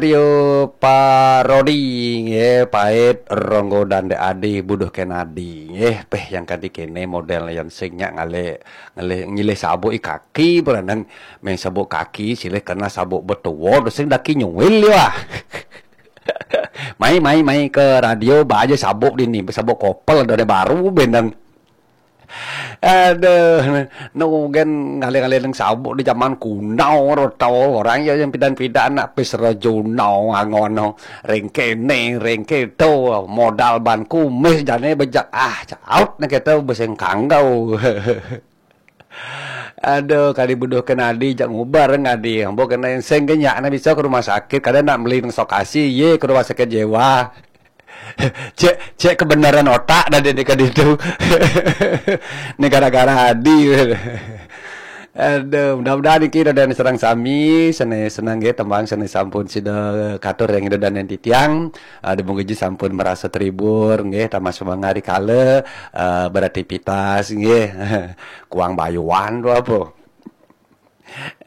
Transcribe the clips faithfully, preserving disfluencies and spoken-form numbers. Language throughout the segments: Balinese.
Trio Parodi nggih, pait Ronggo dan Dek Adi, Buduh Kenadi nggih. Peh, yang kadi kene model yang sing nyak ngalih, ngalih ngilih sabuk i kaki, berenang main sabuk kaki, silih kena sabuk betuwo, sing daki nyuwil ya. Mai, mai, mai ke radio, ba aja sabuk dini, sabuk kopel dari baru bendang. Aduh, nu gen ngalih-ngalih nang sabuk di zaman kuno, ro tau orang ya yang pidan-pidan nak pis rejuno angono, ring kene, ring keto, modal ban kumis jane bejak, ah, caut nih kita beseng kanggau. Aduh, kali Buduh Kenadi jak ngubar ngadi, ambo kena sing genyak na bisa ke rumah sakit, kada nak meli nang sokasi, ye ke rumah sakit jiwa. Cek, cek kebenaran otak dah dia dekat itu. Ni gara-gara Adi. Aduh, mudah-mudahan niki dah dan serang sami, sene senang nggih tembang sene sampun sida katur yang ida dan titiang. Ah, di mungkin sampun merasa terhibur nggih, tambah semangat di kala ah, beraktivitas nggih. Kuang bayuan tu apa?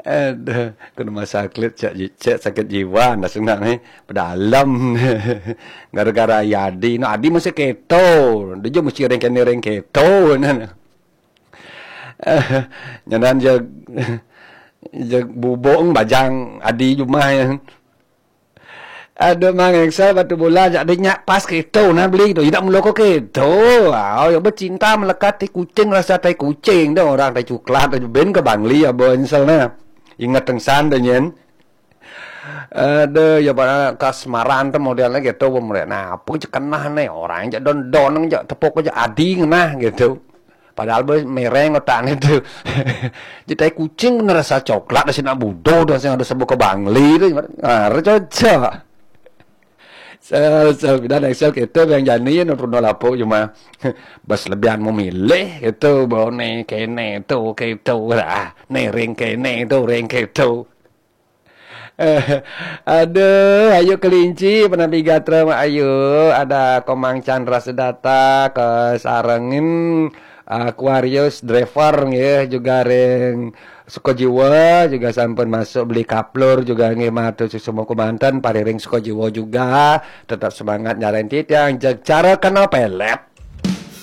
Aduh, ke rumah sakit cek, cek sakit jiwa dah senang ni. Pedalem. Gara-gara ya Adi, no Adi masih keto. Dia je mesti reng kene reng keto. Nyanan je je bubung bajang Adi jumah ya. Aduh, Mang Excel batu bola jak dia nyak pas keto nah beli tu. Tidak melo ko keto. Au, ya becinta melekat tai kucing rasa tai kucing dah orang tai coklat aja ben ke Bangli ya bo Excel nah. Ingat tengsan dah nyen. Aduh, ya pada kasmaran tu model lagi tu pemerintah. Nah, apa je kenah ni orang je don don je tepuk je Adi ngenah gitu. Padahal be mereng otak ni tu. Jadi tai kucing kena rasa coklat dah sini budo dah sing ada sebut ke Bangli tu. Ah, cocok. Sel, sel, dan Excel kita yang jani ya nurun lapuk cuma bas lebihan memilih itu bau ni kene tu keto lah, ni ring kene tu ring keto. Aduh, ayo kelinci penapi gatra mak ayo, ada Komang Chandra Sedata ke sarengin Aquarius Driver nggih juga ring Sukajiwa juga sampun masuk beli kaplur juga nggih matur suksma kumanten pariring Sukajiwa juga tetap semangat nyaren titiang jeg cara kena pelet.